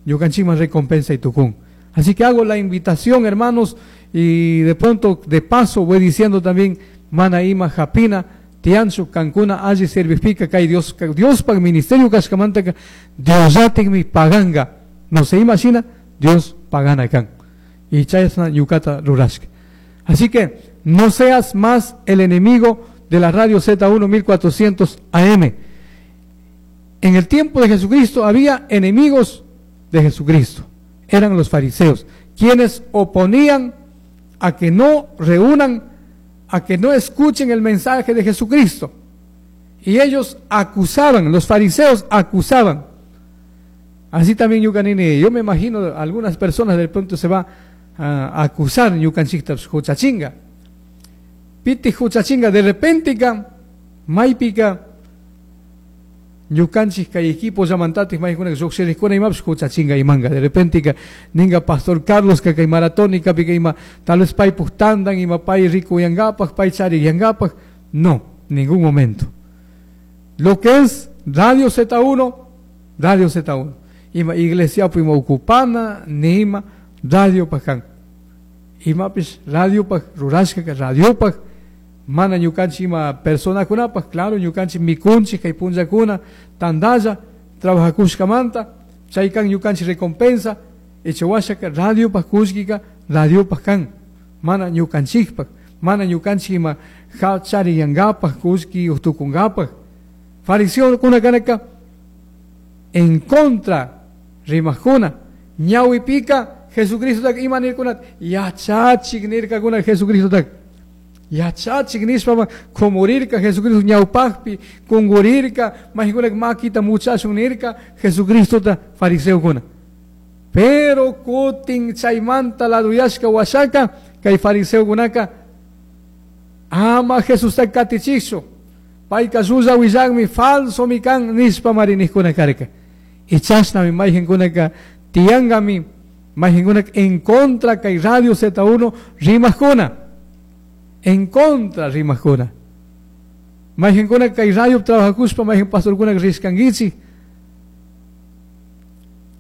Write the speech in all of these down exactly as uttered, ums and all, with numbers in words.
Ñukanchikman recompensa y tukun. Así que hago la invitación, hermanos, y de pronto, de paso, voy diciendo también, mana ima japina, tianchu, kankuna, alli servijpika, kay Dios, Diospaj ministerio kashkamantaka, Diosllatikmi paganga. No se imagina, Dios pagana kan. Y chayasna ñukata rurashka. Así que no seas más el enemigo de la radio Z uno mil cuatrocientos A M. En el tiempo de Jesucristo había enemigos de Jesucristo. Eran los fariseos, quienes oponían a que no reúnan, a que no escuchen el mensaje de Jesucristo. Y ellos acusaban, los fariseos acusaban. Así también ñukanini, yo me imagino algunas personas de pronto se va a acusar ñukanchikta huchachinga. Piti huchachinga, de repente ka, maypika, ñukanchik kay equipo llamantatik maykuna lluqshiriqkuna imapish huchachinga imanga. De repente ka, ninga Pastor Carlos ka kay maratónica pika ima, tal vez paypuk tandan, ima pay rico yangapak, pay chari yangapak. No, ningún momento. Lo que es Radio Z uno, Radio Z uno. Ima iglesia ima ocupana, ni ima radio pakan. Imapish radio pak, rurashka ka radio pak, mana ñukanchik ima personakunapaj, claro, ñukanchik mikunchik kay punllakuna, tandalla, trabajakushkamanta, chaykan ñukanchik recompensa, ichawashaka radiopaj kullkika, radiopaj kan, mana ñukanchikpaj, mana ñukanchik ima chariyankapaj, kullki utukunkapaj. Fariseokuna kanaka en contra rimajkuna, ñawipika Jesucristo tak ima nirkuna, yachachik nirkakuna Jesucristo tak. Yachachik nishpa kumurirka Jesucristo ñawpajpi, kungurirka, majikuna makita muchachun nirka Jesucristo ta fariseokuna. Pero kutin chaymanta laduyashka washaka, kay fariseokunaka ama Jesús ta katichikchu, payka llulla willakmi falso mi kan nishpa marinijkuna karka. Y chashnami mayjinkunaka tiyangami, mayjinkunaka en contra kay Radio Z uno rimajkuna. En contra rimajkuna. Mayjinkuna kay radio trabajakuspa, mayjin pastorkuna riskankichik.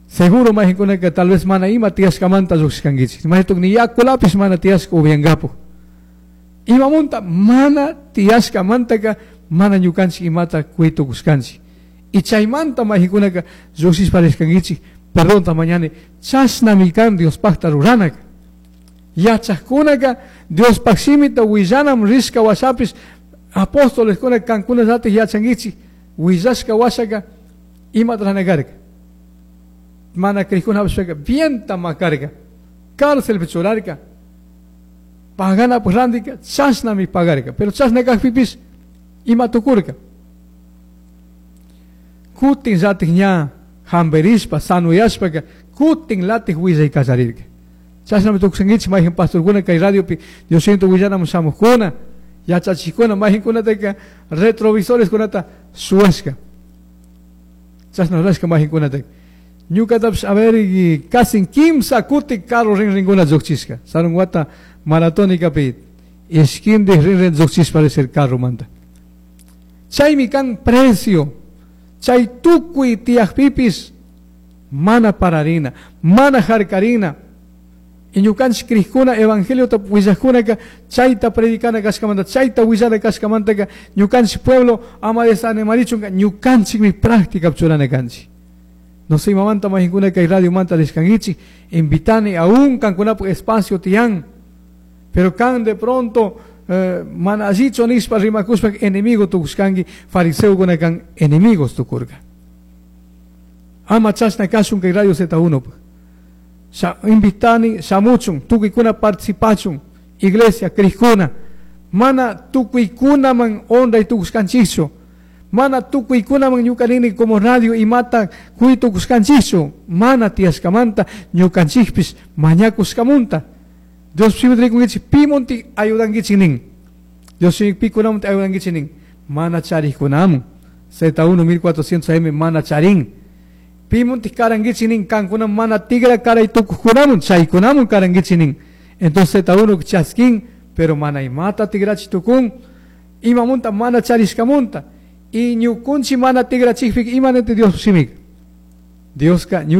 Seguro mayjinkunaka tal vez mana ima tiyashkamanta lluqshkankichik. Maytuk ni yakulapis mana tiyashka upiankapuj. Imamunta mana tiyashkamantaka mana ñukanchik imata kuytukushkanchik. Y chaymanta mayjinkunaka lluqshishpa rishkankichik. Perdón, mañana chashnami kan Diospajta ruranaka. Yachajkunaka Diospaj shimita willanam rishka washapis apóstoles kuna kankuna llatik yachankichik willashka washaka imata ranakarka. Mana krikuna vienta makarka, cárcelpi churarka, paganapaj randika chashnami pagarka, pero chashna kajpipis ima tukurka. Kutin llatik ña hamperishpa sanuyashpaka kutin latik willay kallarirka. Chashnami tukushankichik mayjin pastorkuna kay radiopi Dios siento willanamun shamuqkuna, yachachikuna mayjinkunataka retrovisores kunata suwashka. Chashna rurashka mayjinkunataka. Ñukatapish a ver, y casi kimsa kuti carro rinrinkuna lluqchishka. Sarun wata maratónicapi ishkindik rinrin lluqchishpa risir carro manta. Chaymi kan precio. Chay tukuy tiyaqpipis mana pararina, mana harkarina. Y ñukanchik krikuna evangeliota willajkunaka chayta predicana kashkamanta, chayta willana kashkamantaka ñukanchik pueblo ama desanimarichunka ñukanchikmi práctica churana kanchik. No sé, mamanta majinkuna kay radio manta rishkankichik, invitani aún kankunapuk espacio tiyan. Pero kan de pronto, eh, mana allichu nishpa rimakushpa enemigo tukushkanki, fariseokuna kan enemigos tukurka. Ama chashna kashun kay radio Z uno. Sha, invitani shamuchun, tukuykuna participachun, iglesia krikuna, mana tukuykunaman honra tukushkanchikchu, mana tukuykunaman ñukanini como radio imata kuy tukushkanchikchu, mana tiyashkamanta ñukanchikpis mañakushkamunta. Dios shimita rikunkichik pimunti ayudankichik nin. Dios shimi pikunamunti ayudankichik nin. Mana charikunamun. Z uno mil cuatrocientos A M mana charin. Pimunti karankichik nin, kankuna mana tigra karay tukukunamun, chaykunamun karankichik nin. Entonces Z uno chaskin, pero mana imata tigrachi tukun, imamunta mana charishkamunta. Y ñukunchi mana tigrachikpik imanete Dios shimik. Dioska